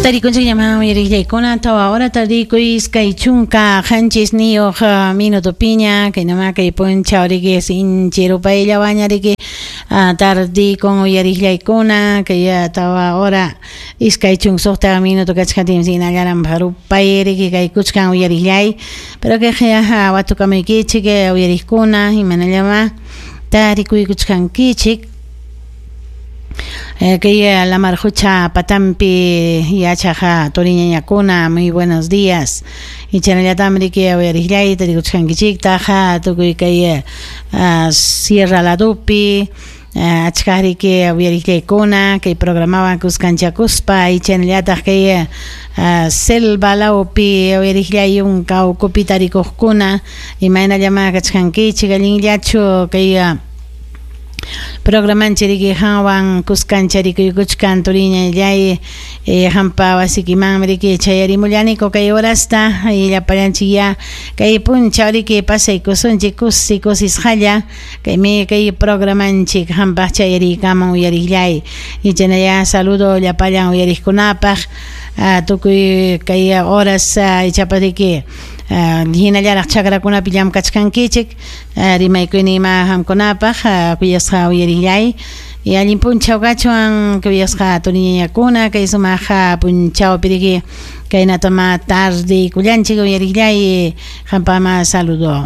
Tarikunchikñamá uyariqllaykuna 4 hora tardikuy 27 minutopiña kaynamá kay punchaw riki sinchi rupayllawanña riki tardikun uyariqllaykuna kay 4 hora 26 minuto kachkatin hinallaram rupay riki kaykuchkan uyariqllay pero kayqa watukamuykichik uyariqkuna imanallamá tarikuykuchkankichik kay lamar qucha patampi yachaq turiñañakuna, muy buenos días. Ichanallatam riki uyariqllay tarikuchkankichiktaq tukuy kay sierra ladupi achka riki uyariqllaykuna kay programawan kuskanchakuspa ichanallataq kay selva lawpi uyariqllay yunka ukupi tarikuqkuna imaynallamá kachkankichik allinllachu kay programanchik riki qanwan kuskancharikuykuchkan turiñallay qampa wasikimanmi riki chayarimullaniko kay horasta llapallanchik ya kay punchaw riki pasaykusunchik kusi kusisqalla kaymi kay programanchik qampaq chayariykamun uyariqllay ichanalla saludo llapallan uyariqkunapaq tukuy kay horas ichapas riki hinallaraq chakrakunapi llamkachkankichik rimaykuyni ima qamkunapaq kuyasqa uyariqllay y allin punchaw kachwan kuyasqa turiñañakuna kay sumaq punchawpi riki kaynatama tardeykullanchik uyariqllay qampama saludo.